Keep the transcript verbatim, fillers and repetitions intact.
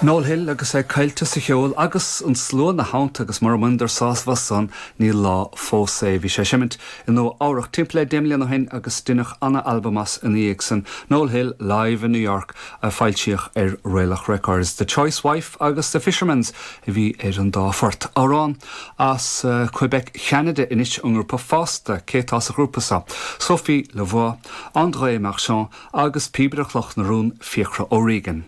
Noel Hill agus é caillte sa cheol agus an slua ina theannta agus mura mbaineadar sásamh as san ní lá fós é bhí sé ag seimint i Nua Eabhrac timpeall le deich mbliana ó shin agus deineadh an-albam as ina dhiaidh san Noel Hill live in New York a foilsíodh ar Raelach Records, The Choice Wife agus The Fisherman's a bhí ar an dá phort. Amhrán as uh, Quebec Cheanada anois an grúpa Fosta cé atá sa ghrúpa seo. Sophie Lavoie, André Marchand agus píobaire Chloch na Rún Fiachra O'Regan.